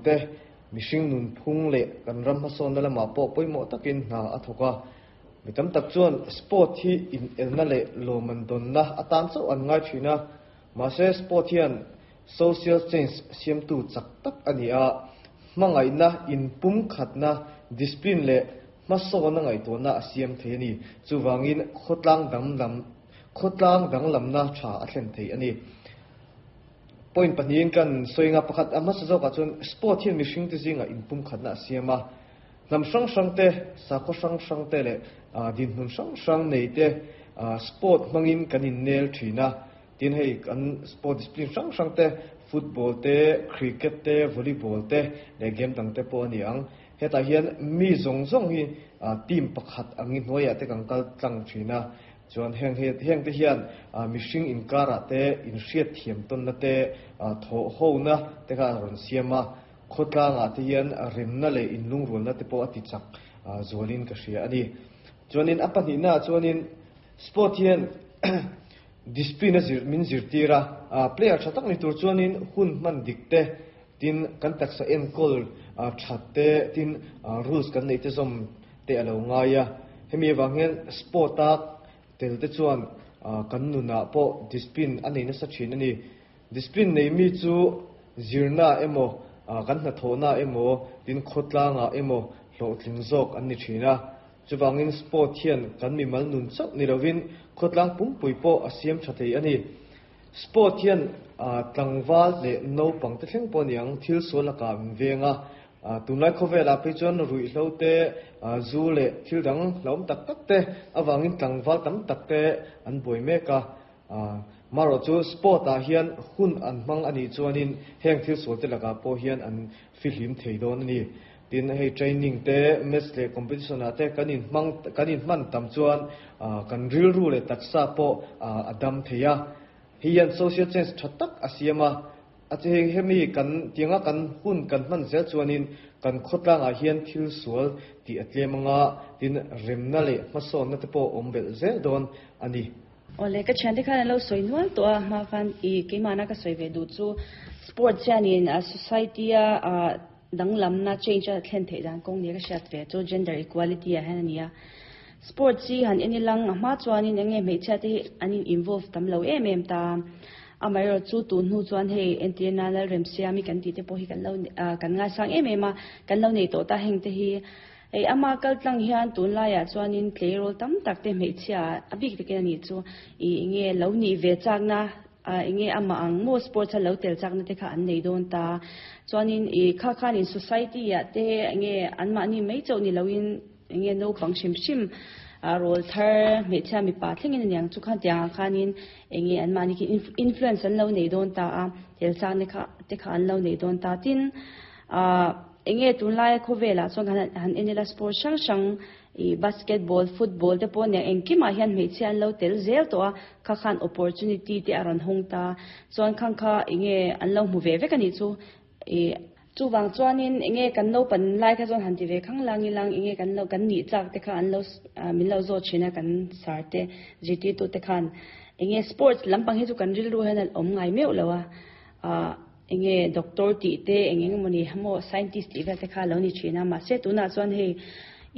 te, mihring nunphung leh kan ram hmasawnna lamah pawh pawimawh takin hna a thawk a. Mi tam tak chuan sport hi inelna leh lawmman dawnna atan chauh an ngai thin a, mahse sport hian social change siamtu chak tak a ni a, hmangaihna, inpumkhatna, discipline leh hmasawnna ngaihtuahna a siam thei a ni. Chuvangin khawtlang danglam khawtlang danglamna tha a thlen thei a ni. Point pahnihin kan sawi nga, pakhat a hmasa zawkah chuan sport hian mihringte zingah inpumkhatna a siam a, Hnam hrang hrang te, sakhaw hrang hrang te leh dinhmun hrang hrang nei te sport hmangin kan innel thin a. Tin hei kan sport discipline hrang hrang te, football te, cricket te, volleyball te leh game dang te pawh a ni ang. Hetah hian mi zawng zawng hi team pakhat angin hnuaiah te kan kal tlang thin a. Chuan heng heng te hian mihring inkarah te inhriatthiam tawnna te, thawhhona te kha a rawn siam a. Khawtlangah te hian remna leh inlungrualna te pawh a ti chak zualin ka hria a ni. Chuanin a pahnihnaah chuanin sport hian discipline a zir min zirtir a, player tha tak ni tur chuanin hun hman dik te, tin kan taksa enkawl that te, tin rules kan neih te zawm te a lo ngai a. Hemi avang hian sport a tel te chuan kan nunah pawh discipline a nei nasa thin a ni. Discipline nei mi chu zirna emaw, kan hnathawhna emaw, tin khawtlangah emaw hlawhtling zawk an ni thin a. Chuvangin sport hian kan mimal nun chauh ni lovin khawtlang pumpui pawh a siam tha thei a ni. Sport hian tlangval leh naupang te thleng pawh a ni ang, thil sual lakah min veng a. Tunlai khawvelah phei chuan ruihhlo te, zu leh thil dang hlauhawm tak tak te avangin tlangval tam tak te an buai mek a. Marawh chu sport ah hian hun an hmang a nih chuanin heng thil sual te lakah pawh hian an fihlim thei dawn a ni. Tin, hei training te, match leh competition ah te kan inhmang kan inhman tam chuan kan rilru leh taksa pawh a dam thei a. Hei hian social change tha tak a siam a. A che hei hemi kan tianga kan hun kan hman zel chuanin kan khawtlangah hian thil sual tih a tlem anga, tin remna leh hmasawnna te pawh awm belh zel dawn a ni. Awle, ka thiante khan an lo sawi nual tawh a, hma khan i keimahna ka sawi ve duh chu sports hianin society a danglamna change a thlen theih dan kawng nia ka hriat ve chu gender equality ah hian a ni a. Sports hi han en ilang a hma chuanin eng nge hmeichhia te hi an in involve tam lo em em ta. Amaherawhchu chu tun hnu chuan hei entirna Lalremsiami kan tih te pawh hi kan lo kan ngaisang em em a, kan lo nei tawh ta heng te hi. Hei ama kal tlang hian tunlaiah chuanin tleirawl tam tak te hmeichhia a bik takin a nih chu i enge lo nih ve chakna ah enge amah ang maw sports a lo tel chakna te kha an nei dawn ta. Chuanin i kha khanin society ah te enge anmahni mai chauh ni loin enge naupang hrim hrim ah rawl thar hmeichhia mipa thlengin a niang chu khan tiangah khanin enge anmahni khi influence an lo nei dawn ta a, tel chakna kha te kha an lo nei dawn ta. Tin ah. Enge tunlaia khawvelah chuan kan han en ila sport hrang hrang ih basketball, football te pawh nia engkimah hian hmeichhia an lo tel zel tawh a, kha khan opportunity te a rawn hawng ta. Chuan khang kha enge an lo hmu ve vek a nih chu ih chuvang chuanin enge kan naupan lai kha chuan han ti ve khang lang ilang enge kan lo kan nih chak te kha an lo min lo zawt thin a kan sir te zirtirtu te khan enge sports lampang hi chu kan rilru hian a awm ngai meuh lo a ah. Enge doctor tih te eng eng emawni maw scientist tih vel te kha a lo ni thin a, mahse tunah chuan hei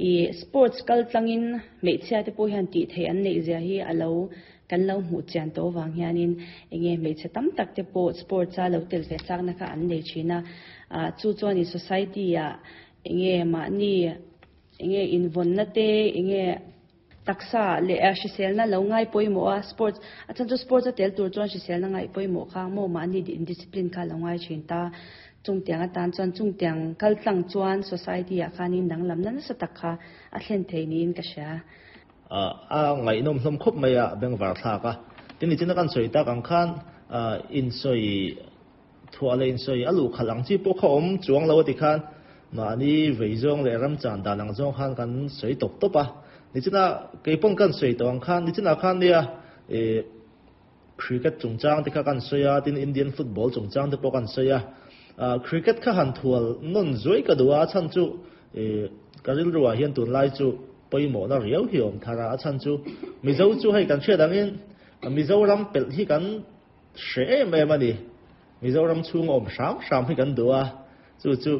ih sports kal tlangin hmeichhia te pawh hian tih theih an neih zia hi a lo kan lo hmuh chian tawh avang hianin enge hmeichhe tam tak te pawh sports a lo tel ve chakna kha an nei thin a, ah chu chuan ih society ah enge mahni enge invawnna te enge. Taksa leh hriselna lo ngai pawimawh a, sports a chhan chu sports a tel tur chuan hriselna ngaih pawimawh kha maw mahni indiscipline kha lo ngai thin ta. Chungtiang atan chuan chungtiang kal tlang chuan society ah khanin danglamna nasa tak kha a thlen thei niin ka hria. A ngaihnawm hlawm khawp mai a, bengvar thlak a. Tin nichina kan sawi tak ang khan insawi Thuah leh insawi a luh khalh ang chi pawh kha awm chuang lo a ti khan mahni vei zawng leh ram chan dan ang zawng khan kan sawi tawp tawp a. Nichina kei pawn kan sawi tawh ang khan nichina khan nia ih cricket chungchang te kha kan sawi a, tin Indian football chungchang te pawh kan sawi a. Ah cricket kha han thual nawn zuai ka duh a, a chhan chu ih ka rilru ah hian tunlai chu pawimawhna riau hi a awm thar a, a chhan chu Mizo chu hei kan hriat angin Mizoram pelh hi kan Hre em em a ni. Mizoram chhung awm hram hram hi kan duh a, chu chu.